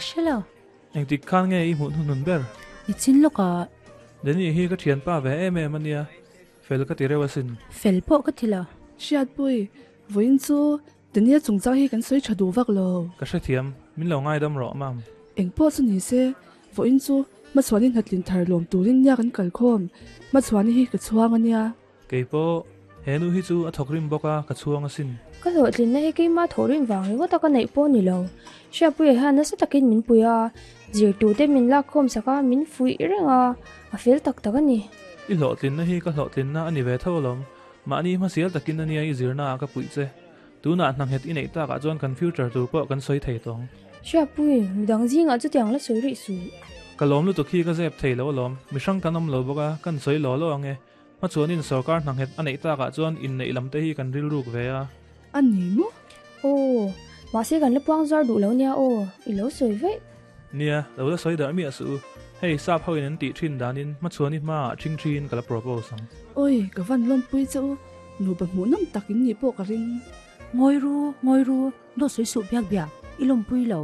Ka hre lo. Engtik khan nge i hmuh hnuhnun ber? Nichin lawkah. Danny hi ka thianpa ve em em a nia, fel ka ti reuh asin. Fel pawh ka ti lo. Hriatpui, vawiin chu Danny-a chungchang hi kan sawi tha duh vak lo. Ka hrethiam, min lo ngaidam rawh mam. Engpawh chu ni se, vawiin chu Hmachhuani hnatlin thar lawm turin nia kan kalkhawm. Hmachhuani hi ka chhuang a nia. Kei pawh, he nu hi chu a thawkrim bawk a, ka chhuang asin. Ka hlawhtlinna hi keimah thawhrim vang ringawt a ka neih pawh ni lo. Hriatpuia hian nasa takin min pui a, zirtute min lakkhawm sak a, min fuih reng a, a fel tak tak a ni. I hlawhtlinna hi ka hlawhtlinna a ni ve tho alawm. Mahni hmasial takin a nia i zirna ah ka puih che. Tunah hna nghet i neih takah chuan kan future tur pawh kan sawi thei tawng. Hriatpui, midang zingah chutiang la sawi rih suh. Ka lawm lutuk hi ka zep thei lo alawm. Mihrang kan awm lo bawk a, kan sawi law law ang e. Hmachhuanin sorkar hna nghet a neih takah chuan inneih lam te hi kan rilruk ve a. A ni maw? Aw, mahse kan la puang zar duh lo nia aw, i lo sawi veih. Nia, lo la sawi darh miah suh u. Hei, sap ho in an tih thin danin Hmachhuani hmaah ṭhing ṭhiin ka la propose ang. Awi, ka van lawmpui che u, nupa hmuhnawm tak in nih pawh ka ring. Ngawi ru, ngawi ru, dawt sawi suh biak biak, i lawmpui lo.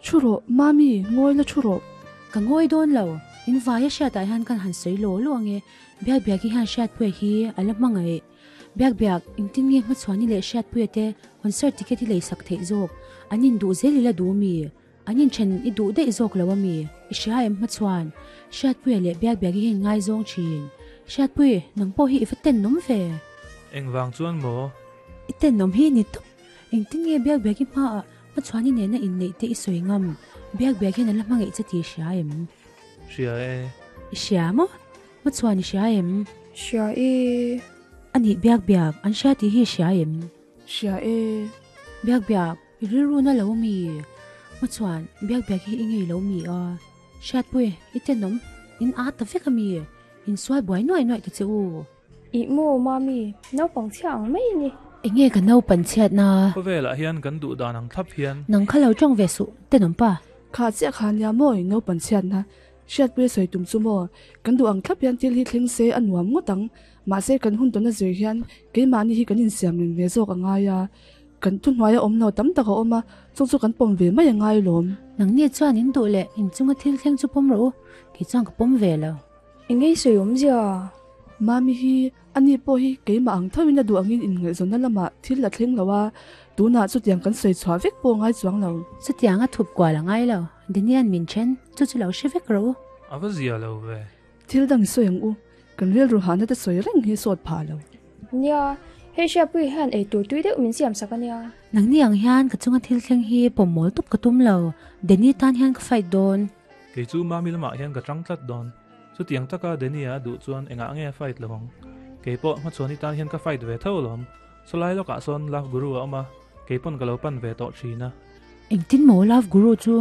Thu rawh, Mami, ngawi la thu rawh. Ka ngawi dawn lo, in vaia hriatah hian kan han sawi law law ange, Biak Biaki hian Hriatpuia hi a la hmangaih. Biak Biak, engtin nge Hmachhuani leh Hriatpuia te concert ticket i leisak theih zawk? An induh zel i la duh mi? An inthen i duh daih zawk lo a mi? I hria em Hmachhuan? Hriatpuia leh Biak Biaki hi in ngaizawng thin. Hriatpui, nang pawh hi i va tenawm ve. Engvang chuan maw? I tenawm hi ni tawp. Engtin nge Biak Biaki hmaah Hmachhuani nena inneih te i sawi ngam? Biak Biak hian a la hmangaih che tih i hria em? Hria e. I hria maw? Hmachhuan i hria em? Hria e. A nih Biak Biak, an hria tih hi i hria em? Hria e. Biak Biak, i rilru na lo mi? Hmachhuan, Biak Biak hi i ngei lo mi a? Hriatpui, i tenawm, in aa ta vek a mi? Insual buai nuai nuai ta che u. Ih maw Mami, naupang chhia ang mai i ni. Enge ka naupan chhiatna? Khawvelah hian kan duh dan ang thlap hian. Nang kha lo tawng ve suh, tenawm pa. Kha chiah kha nia maw i naupan chhiatna? Hriatpuia sawi tum chu maw? Kan duh ang thlap hian thil hi thleng se a nuam ngawt ang. Mahse kan hun tawna zir hian keimahni hi kan insiam reng ve zawk a ngai a. Kan thuhnuaia awm lo tam tak a awm a, chung chu kan pawm ve mai a ngai lawm. Nangni chuan in duh leh inchunga thil thleng chu pawm rawh u, kei chuan ka pawm ve lo. Engei sawi awmzia? Mami hi ani pawh hi keimah ang thoin a duh angin inngaihzawnna lamah thil a thleng lo a, tunah chutiang kan sawi chhuah vek pawh ngai chuang lo. Chutiang a thup kual a ngai lo, Danian min then, chu chu lo hre vek rawh u. A va zia lo ve. Thil dang i sawi ang u, kan rilru hahna te sawi reng hi sawt phah lo. Nia, hei Hriatpuii hian ei tur tui deuh min siam sak a nia. Nangni ang hian ka chunga thil thleng hi pawm mawl tup ka tum lo, Danny tan hian ka fight dawn. Kei chu Mami lamah hian ka tang tlat dawn. Chutiang taka Danny-a a duh chuan engah nge a fight lo ang? Kei pawh hmachhuani tan hian ka fight ve tho alawm. Sawlai lawkah sawn Love Guru a awm a, kei pawn ka lo pan ve tawh thin a. Engtin maw Love Guru chu?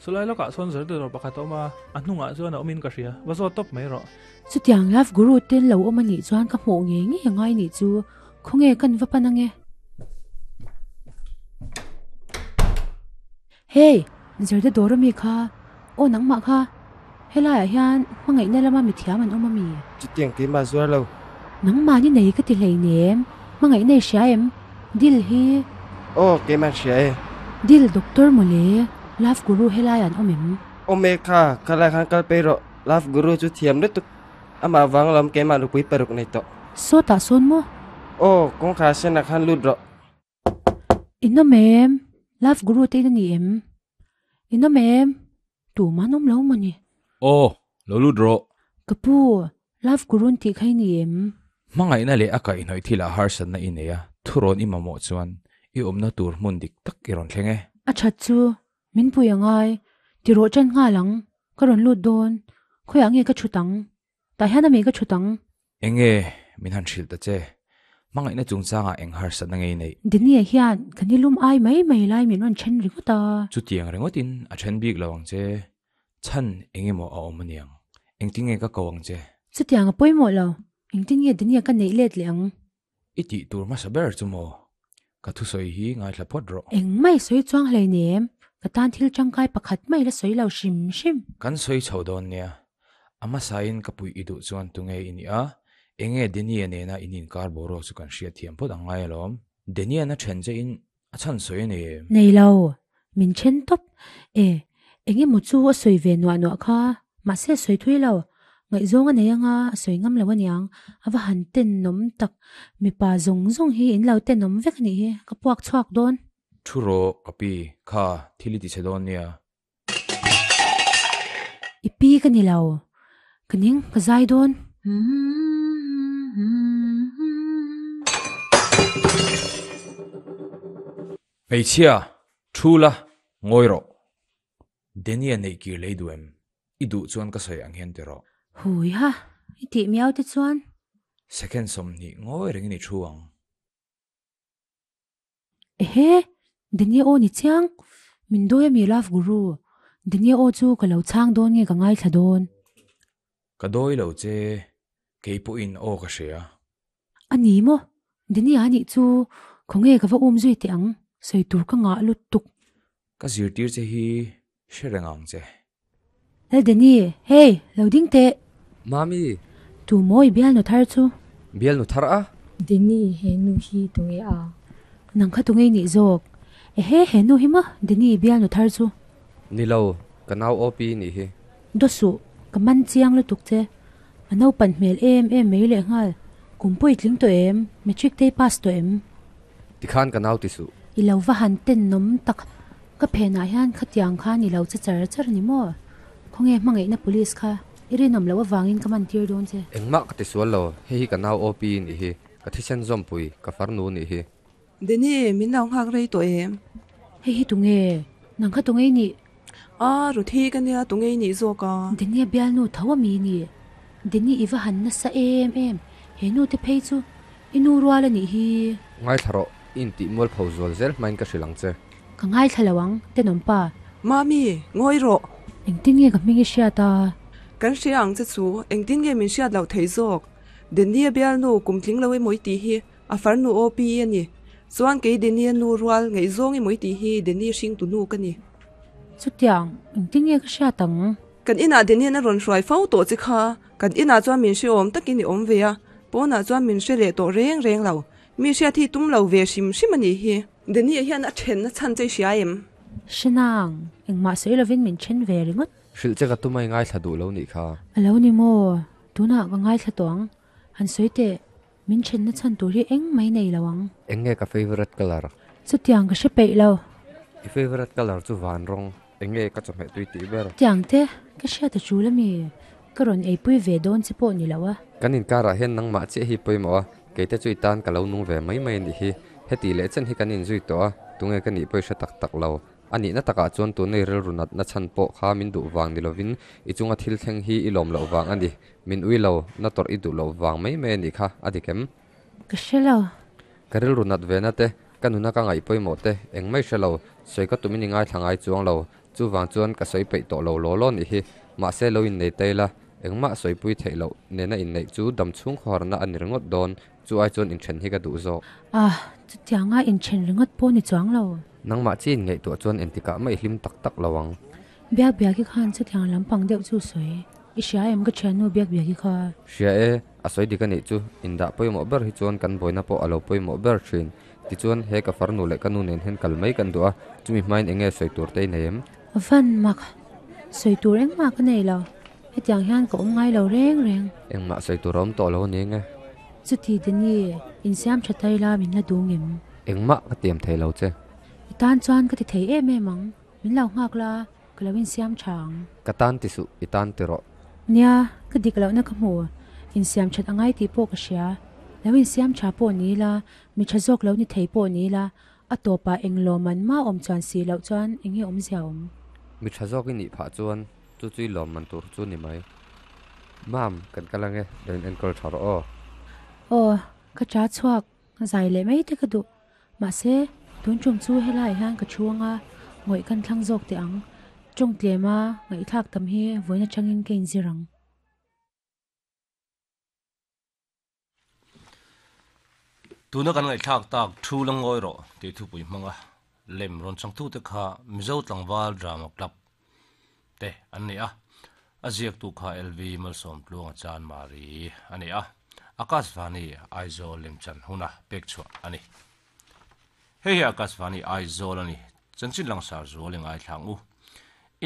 Sawlai lawkah sawn Zardadawr pakhat a awm a, a hnungah chuan a awmin ka hria. Va zawt tawp mai rawh. Chutiang Love Guru ten lo awm a nih chuan ka hmuh ngei ngei a ngai nih chu. Khawnge kan va pan ange? Hey! Zirte dawr ami kha, aw nangmah kha, helaiah hian hmangaihna lama mithiam an awm ami? Chutiang keimah zuar lo. Nangmah ni nei ka ti hleinem, hmangaihna i hria em? Dil hi. Aw keimah hria e. Dil doctor mawle, love guru helaiah an awm em? Awm e kha, khalai khan kal pei rawh, love guru chu thiam lutuk, amah vang lam keimah nupui paruk nei tawh. Sawtah sawn maw? Aw, kawngkhar senah khan lut rawh. Inawm em? Love Guru te in a ni em? Inawm em? Tumah an awm lo maw ni? Aw, lo lut rawh. Ka pu, Love Guru an tih kha i ni em? Hmangaihna leh a kaihhnawih thilah harsatna i nei a, thurawn i mamawh chuan i awmna tur hmun dik tak i rawn thleng e. A that chu, min pui a ngai. Ti rawh ṭan nghal ang, ka rawn lut dawn. Khawiah nge ka ṭhut ang? Tah hian a mi ka thut ang. Enge min han hrilh ta che? Hmangaihna chungchangah eng harsatna nge i neih? Denie hian ka nilum ai mai mai lai min rawn then ringawt a. Chutiang ringawtin a then bik lo ang che. Chhan eng emaw a awm aniang. Engtin nge ka ko ang che? Chutiang a pawimawh lo. Engtin nge Denie ka neih let leh ang? I tih tur hmasa ber chu maw? Ka thusawi hi ngaithla phawt rawh. Engmah i sawi chuang hleinem, ka tan thil tangkai pakhat mai la sawi lo hrim hrim. Kan sawi chho dawn nia. A hmasain ka puih i duh chuan tunge i nih a? Enge Denia nena in inkar boruak chu kan hriatthiam phawt ang ngai alawm. Denian a then che in a chhan sawi a ni em? Nei lo. Min then tawp. E. Eng emaw chu a sawi ve nuah nuah kha, mahse a sawi thui lo. Ngaihzawng a nei anga a sawi ngam lo aniang, a va han tenawm tak. Mipa zawng zawng hi in lo tenawm vek anih hi, ka puak chhuak dawn. Thu rawh ka pi, kha thil i ti chhe dawn nia. I pi ka ni lo, ka ning ka zai dawn. Hmeichhia, thu la, ngawi rawh. Denia neih kir lei duh em? I duh chuan ka sawi ang hian ti rawh. Hui ha, i tih miau te chuan. Second 20 ngawi rengin i thu ang. Ehe, Dania aw ni chiang, min dawi ami love guru, Dania aw chu ka lo chhang dawn nge ka ngaithla dawn. Ka dawi lo che, kei pawhin aw ka hria. A ni maw, Dania anih chu khawnge ka va um zui teh ang, sawi tur ka ngah lutuk. Ka zirtir che hi hre reng ang che. Lal Dani, hei, lo ding teh. Mami! Tu maw i bialnu thar chu? Bialnu thar a? Dani, he nu hi tunge a? Nang kha tunge i nih zawk? Ehe, he nu hi maw Dani i bialnu thar chu? Ni lo, ka nau OP nih hi. Daw suh, ka man chiang lutuk che. A naupan hmel em em mai lehnghal. Kum pawh i tling tawh em? Matric te i pass tawh em? Tikhan ka nau ti suh. I lo va han tenawm tak. Ka phenah hian khatiang khan i lo che char char ni maw? Khawnge hmangaihna police kha i rinawm loh avangin ka man tir dawn che. Engmah ka ti sual lo, hei hi ka nau OP nih hi, ka thisen zawmpui, ka farnu nih hi. Denny, min lo nghak rei tawh em? Hei hi tunge? Nang kha tunge i nih? A, Ruthi ka nia tunge i nih zawk a? Denny a bialnu tho a mi nih? Denny i va han nasa em em, he nu te phei chu i nu rual a nih hi. Ngaithla rawh, i intih mualpho zual zel hmain ka hrilh ang che. Ka ngaithla lo ang, tenawm pa. Mami, ngawi rawh. Engtin nge ka hming i hriat a? Kan hria ang che chu, engtin nge min hriat loh thei zawk? Denny a bialnu kum tling lo emaw i tih hi a farnu OP a ni. Chuan kei Denny a nu rual ngaihzawng emaw i tih hi Denny hringtu nu ka ni. Chutiang, engtin nge ka hriat ang? Kan inah Denny an a rawn hruai fo tawh che kha. Kan inah chuan min hrehawm takin i awm ve a, pawnah chuan min hre leh tawh reng reng lo. Mi hriat hi tum lo ve hrim hrim a nih hi. Denny hian a then a chhan che i hria em? Hre nang, engmah sawi lovin min then ve ringawt. Hrilh che ka tum a i ngaithla duh lo nih kha. A lo ni maw? Tunah ka ngaithla tawh ang. Han sawi teh, min then na chhan tur hi eng mai nei lo ang. Eng nge ka favourite colour? Chutiang ka hre peih lo. I favourite colour chu van rawng. Eng nge ka chawhmeh tui tih ber? Tiang te, ka hriat a tul ami? Ka rawn eipui ve dawn che pawh ni lo a. Kan inkarah hian nangmah chiah hi pawimawh a, keite chu i tan ka lo nung ve mai mai a nih hi. Heti leh chen hi kan inzui tawh a, tunge ka nih pawh i hre tak tak lo. A nihna takah chuan tunei rilru natna chhan pawh kha min duh vang ni lovin i chunga thil thleng hi i lawm loh vang a ni. Min ui lo, na tawrh i duh loh vang mai mai a nih kha, a dik em? Ka hre lo. Ka rilru nat ve na te, ka nuna ka ngaih pawimawh te, eng mai hre lo, sawi ka tumin i ngaithla ngai chuang lo. Chuvang chuan ka sawi peih tawh lo law law nih hi. Mahse lo innei ta ila, engmah sawipui theih loh nena inneih chu dam chhung khawharna a ni ringawt dawn, chu ai chuan inthen hi ka duh zawk. Ah, chutianga inthen ringawt pawh ni chuang lo. Nangmah chi inngaihtuah chuan entikah mah i hlim tak tak lo ang. Biak biaki khan chutiang lampang deuh chu sawi. I hria em ka thiannu biak biaki kha? Hria e, a sawi dik a nih chu, indah pawimawh ber hi chuan kan buaina pawh a lo pawimawh ber thin. Tichuan, he ka farnu leh ka nu nen hian kal mai kan duh a, chumi hmain eng nge sawi tur te i nei em? Van mak, sawi tur engmah ka nei lo, hetiang hian ka awm ngai lo reng reng. Engmah sawi tur a awm tawh lo a ni eng e? Chuti Danny, insiam tha tai la min la dung em? Engmah ka tiam thei lo che. I tan chuan ka ti thei em em ang, min lo nghak la. Ka lo insiam tha ang. Ka tan ti suh, i tan ti rawh. Nia, ka dik lohna ka hmu. Insiam that a ngai tih pawh ka hria. Lo insiam tha pawh ni ila, mi tha zawk lo ni thei pawh ni ila, a tawpah eng lawmman mah awm chuan si loh chuan eng nge awmzia awm? Mi tha zawk i nih phah chuan chu chu i lawmman tur chu ni mai. Mam, kan kal ange, lo in enkawl tha rawh aw. Aw, ka cha chhuak. Zai leh mai te ka duh. Mahse, tun tum chu helaiah hian ka thu anga ngawih kan thlang zawk teh ang. Tawng tlema ngaihthlak tam hi vawiin atangin ka inzir ang. Tuna kan ngaihthlak tak thu la ngawi rawh tih thupui hmanga lem rawn changtute kha Mizo Tlangval Drama Club te an ni a, a ziaktu kha LV Malsawmtluanga Chanmari a ni a, Akashvani Aizawl lemchan huna pek chhuah a ni. Hei hi Akashvani Aizawl a ni, chanchin langsar zual i ngaithlang u.